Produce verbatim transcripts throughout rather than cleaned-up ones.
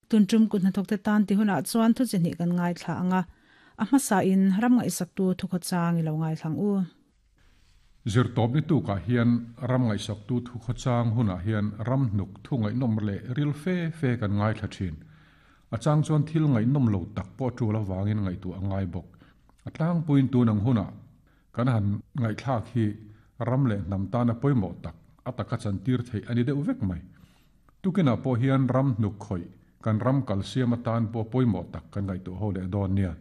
Tuntum kun hnathawk te tan ti hunah chuan thu chi hnih kan ngaithla anga a hmasa in ram ngaihsak tu thu khawchang i lo ngaithlang u. Zirtawp ni tukah hian ram ngaihsak tu thu khawchang hunah hian ram hnuk thu ngaihnawm leh ril fe fe kan ngaithla thin. A chang chuan thil ngaihnawm lo tak pawh tul avangin ngaihtuah a ngai bawk. A tlangpuiin tun ang hunah kan han ngaihthlak hi ram leh hnam tana pawimawh tak a taka chantir theih a ni deuh vek mai. Tukinah pawh hian ram hnuk khawih kan ram kal siam atan pawh pawimawh tak kan ngaihtuah ho leh dawn nia.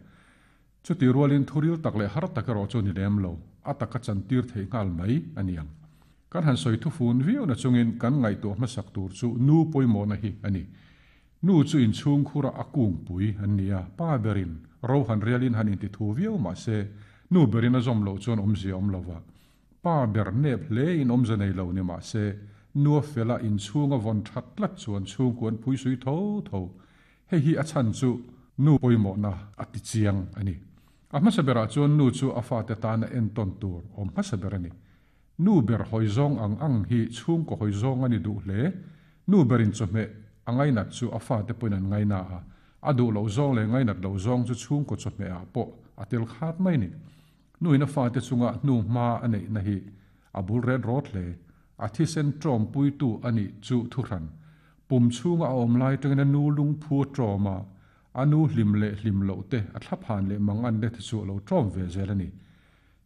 Chuti rualin thuril tak leh har tak erawh chu ni lem lo, a taka chantir theih nghal mai a ni ang. Kan han sawi thufun viau na chungin kan ngaihtuah hmasak tur chu nu pawimawhna hi a ni. Nu chu inchhung khura a kungpui an ni a, pa berin ro han rialin han inti thu viau mahse nu berin a zawm loh chuan awmzia awm lova. Pa ber nep hle in awmze nei lo ni mahse nu a fela inchhunga vawn that tlat chuan chhungkuan phui sui tho tho. Hei hi a chhan chu nu pawimawhna a ti chiang a ni. A hmasa berah chuan nu chu a fate tana entawn tur awm hmasa ber a ni. Nu ber hawi zawng ang ang hi chhungkaw hawi zawng a ni duh hle. Nu berin chawhmeh a ngainat chu a fate pawhin an ngaina a, a duh loh zawng leh ngainat loh zawng chu chhungkaw chawhmeh ah pawh a tel khat mai ni. Nu in a fate chunga hnu hma a neihna hi a bul ret rawt hle. A thisen tawm puitu a nih chu thuhran. Pum chhunga a awm lai tangin a nu lungphu a tawm a, a nu hlim leh hlim loh te a thlaphan leh mang an le te chu a lo tawm ve zel a ni.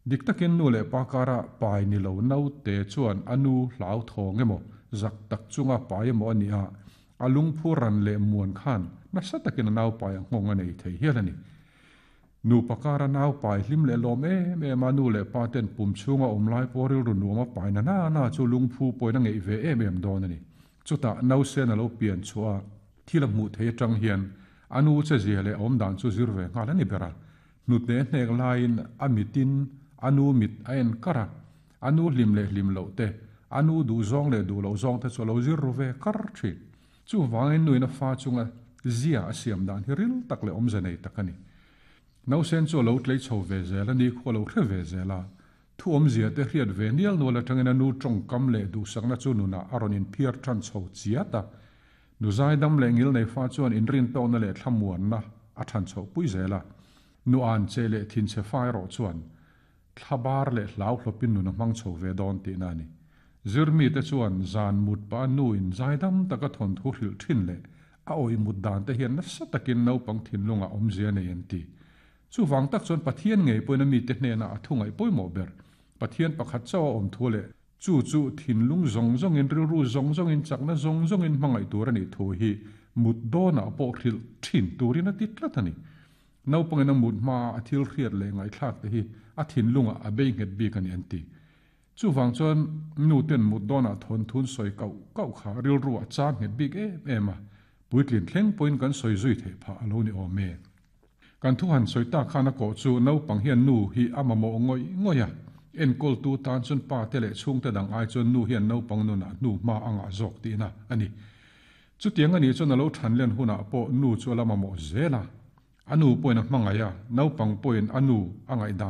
Dik takin nu leh pa kara pai ni lo naute chuan a nu hlau thawng emaw zak tak chunga pai emaw a ni a, a lungphu ran leh muan khan nasa takin a nau pai a nghawng a nei thei hial a ni. Nu pakara nau pai hlim leh lawm em em a, nu leh pa ten pum chhunga awm lai pawh rilru nuam a pai na na na chu lungphu pawhin a ngeih ve em em dawn a ni. Chutah nausen a lo pian chhuah a, thil a hmuh thei atang hian a nu che zia leh awm dan chu zir ve nghal a ni ber a. Hnute hnek laiin a mitin a nu mit a en kar a, a nu hlim leh hlim loh te, a nu duh zawng leh duh loh zawng te chu a lo zir ru ve kar thin. Chuvangin nuin a fa chunga zia a siam dan hi ril tak leh awmze nei tak a ni. Nausen chu a lo tlei chho ve zel a, ni khu a lo hre ve zel a. Thu awmzia te hriat ve nial nual atangin a nu tawngkam leh duhsakna chu nunah a rawn inphiar tan chho chiat a. Nu zaidam leh ngil nei fa chuan inrin tawkna leh thlamuanna a than chho pui zel a. Nu an che leh thin che fa erawh chuan thlabar leh hlau hlawpin nun a hmang chho ve dawn tihna a ni. Zirmi te chuan zan mut pa nu in zaidam taka thawn thu hrilh thin leh a awih mut dan te hian nasa takin naupang thinlunga awmzia nei an ti. Chuvang tak chuan Pathian ngei pawhin a mite hnenah a thu ngaih pawimawh ber. Pathian pakhat chauh a awm thu leh chu chu thinlung zawng zawngin rilru zawng zawngin chakna zawng zawngin hmangaih tur a nih thu hi mut dawnah pawh hrilh thin turin a ti tlat a ni. Naupangin a mut hma a thil hriat leh ngaihthlak te hi a thinlungah a bei nghet bik a ni an ti. Chuvang chuan nu ten mut dawnah thawn thun sawi kauh kauh kha rilru a chang nghet bik em em a, puitlin thleng pawhin kan sawi zui theih phah a lo ni awm e. Kan thu han sawi tak khan a kawh chu naupang hian nu hi a mamawh ngawih ngawih a, enkawl tu tan chuan pa te leh chhungte dang ai chuan nu hian naupang nunah hnu hma a ngah zawk tihna a ni. Chutiang a nih chuan a lo than len hunah pawh nu chu a la mamawh zel a, a nu pawhin a hmangaih a, naupang pawhin a nu a ngaih dan